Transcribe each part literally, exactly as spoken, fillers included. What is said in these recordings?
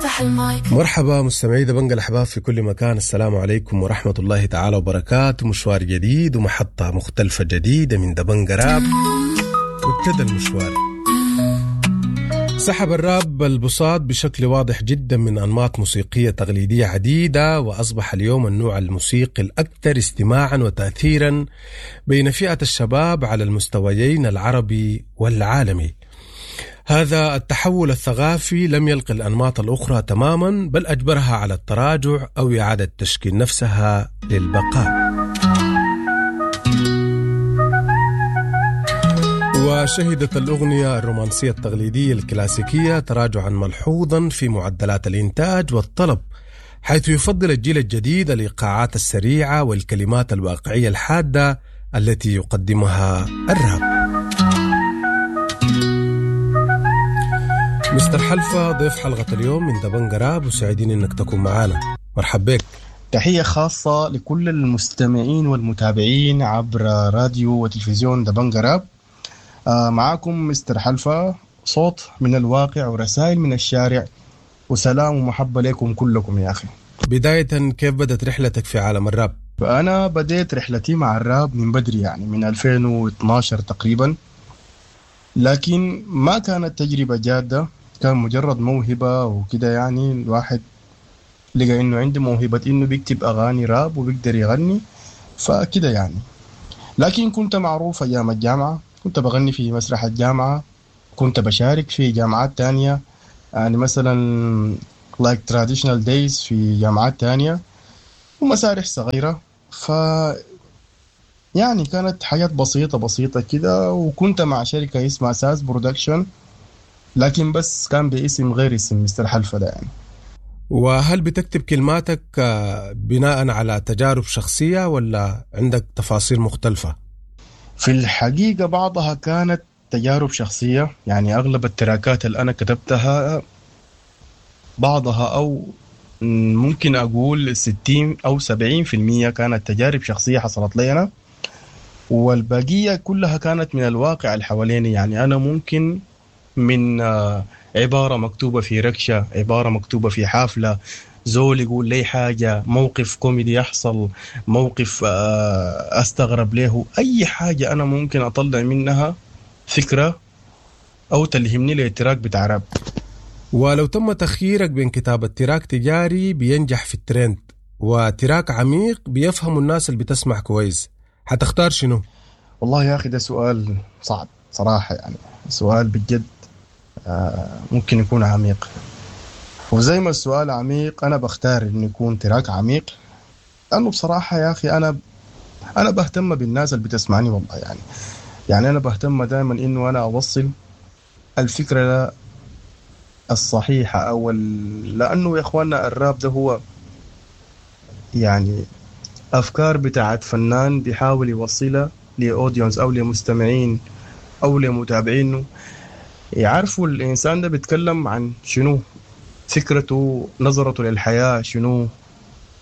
افتح المايك. مرحبا مستمعي دبنجة الأحباب في كل مكان، السلام عليكم ورحمة الله تعالى وبركاته. مشوار جديد ومحطة مختلفة جديدة من دبنجة راب، وابتدى المشوار. سحب الراب البساط بشكل واضح جدا من أنماط موسيقية تقليدية عديدة، وأصبح اليوم النوع الموسيقي الأكثر استماعا وتأثيرا بين فئة الشباب على المستويين العربي والعالمي. هذا التحول الثقافي لم يلقي الأنماط الأخرى تماما، بل أجبرها على التراجع أو إعادة تشكيل نفسها للبقاء. وشهدت الأغنية الرومانسية التقليدية الكلاسيكية تراجعا ملحوظا في معدلات الإنتاج والطلب، حيث يفضل الجيل الجديد الإيقاعات السريعة والكلمات الواقعية الحادة التي يقدمها الراب. مستر حلفة ضيف حلقة اليوم من دبنجة راب، وسعيدين انك تكون معانا. مرحب بك. تحية خاصة لكل المستمعين والمتابعين عبر راديو وتلفزيون دبنجة راب. آه معاكم مستر حلفة، صوت من الواقع ورسائل من الشارع، وسلام ومحبة لكم كلكم يا أخي. بداية، كيف بدأت رحلتك في عالم الراب؟ أنا بديت رحلتي مع الراب من بدري، يعني من ألفين واثناشر تقريبا، لكن ما كانت تجربة جادة، كان مجرد موهبة وكده. يعني الواحد لقى إنه عنده موهبة إنه بيكتب أغاني راب وبيقدر يغني، فكده يعني. لكن كنت معروف أيام الجامعة، كنت بغني في مسرح الجامعة، كنت بشارك في جامعات تانية، يعني مثلا like traditional days في جامعات تانية ومسارح صغيرة. ف يعني كانت حاجات بسيطة بسيطة كده، وكنت مع شركة اسمها ساس production، لكن بس كان باسم غير اسم مستر حلفة ده يعني. وهل بتكتب كلماتك بناء على تجارب شخصية ولا عندك تفاصيل مختلفة؟ في الحقيقة بعضها كانت تجارب شخصية، يعني أغلب التراكات اللي أنا كتبتها بعضها أو ممكن أقول ستين أو سبعين في المية كانت تجارب شخصية حصلت لي أنا، والبقية كلها كانت من الواقع اللي حواليني. يعني أنا ممكن من عبارة مكتوبة في ركشة، عبارة مكتوبة في حافلة، زول يقول لي حاجة، موقف كوميدي يحصل، موقف أستغرب له، أي حاجة أنا ممكن أطلع منها فكرة أو تلهمني لل track بتاع راب. ولو تم تخييرك بين كتابة track تجاري بينجح في الترند و track عميق بيفهم الناس اللي بتسمع كويس، هتختار شنو؟ والله يا أخي ده سؤال صعب صراحة، يعني سؤال بجد ممكن يكون عميق، وزي ما السؤال عميق أنا بختار إنه يكون track عميق، لأنه بصراحة يا أخي أنا أنا بهتم بالناس اللي بتسمعني والله. يعني يعني أنا بهتم دائما إنه أنا أوصل الفكرة الصحيحة أو ال... لأنه يا إخواننا الراب ده هو يعني أفكار بتاعت فنان بيحاول يوصلها لأودينس أو لمستمعين أو لمتابعينه، يعرفوا الإنسان ده بيتكلم عن شنو، فكرته، نظرته للحياة شنو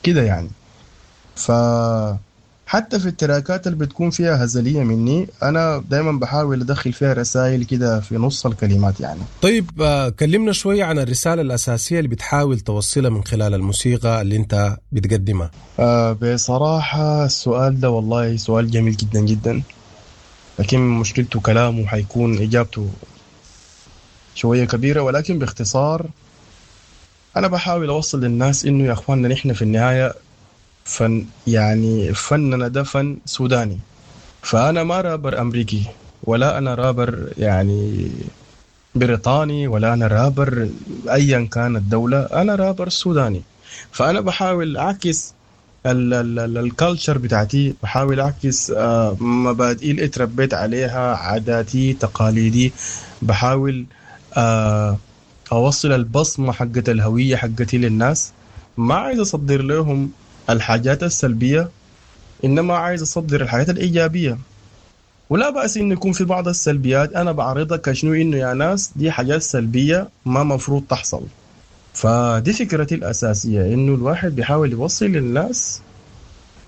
كده يعني. فحتى في التراكات اللي بتكون فيها هزلية مني أنا دايما بحاول أدخل فيها رسائل كده في نص الكلمات يعني. طيب كلمنا شوية عن الرسالة الأساسية اللي بتحاول توصلها من خلال الموسيقى اللي أنت بتقدمها. آه بصراحة السؤال ده والله سؤال جميل جدا جدا، لكن مشكلته كلامه حيكون إجابته شوية كبيرة، ولكن باختصار أنا بحاول أوصل للناس إنه يا أخواننا نحن في النهاية فن، يعني فننا ده فن سوداني، فأنا ما رابر أمريكي ولا أنا رابر يعني بريطاني ولا أنا رابر أيا كانت الدولة، أنا رابر سوداني. فأنا بحاول أعكس ال culture بتاعتي، بحاول أعكس مبادئي اللي اتربيت عليها، عاداتي، تقاليدي، بحاول أوصل البصمة حقت الهوية حقتي للناس. ما عايز أصدر لهم الحاجات السلبية، إنما عايز أصدر الحاجات الإيجابية. ولا بأس إنه يكون في بعض السلبيات أنا بعرضها كشنو، إنه يا ناس دي حاجات سلبية ما مفروض تحصل. فدي فكرتي الأساسية، إنه الواحد بيحاول يوصل للناس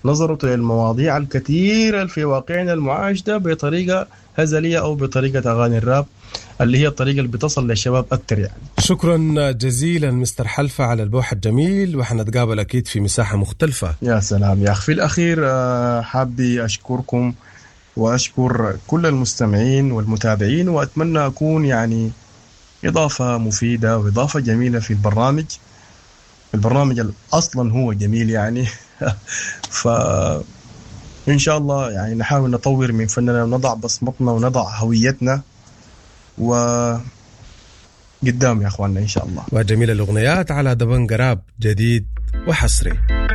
نظرته للمواضيع الكثيرة في واقعنا المعاش ده بطريقة هزلية أو بطريقة أغاني الراب اللي هي الطريقة اللي بتصل للشباب أكتر يعني. شكرا جزيلا مستر حلفة على البوح الجميل، وحنتقابل أكيد في مساحة مختلفة. يا سلام يا أخي. في الأخير حابي أشكركم وأشكر كل المستمعين والمتابعين، وأتمنى أكون يعني إضافة مفيدة وإضافة جميلة في البرنامج. البرنامج أصلا هو جميل يعني ف إن شاء الله يعني نحاول نطور من فننا ونضع بصمتنا ونضع هويتنا وقدام يا أخواننا إن شاء الله. وجميل الأغنيات على دبنقا راب جديد وحصري.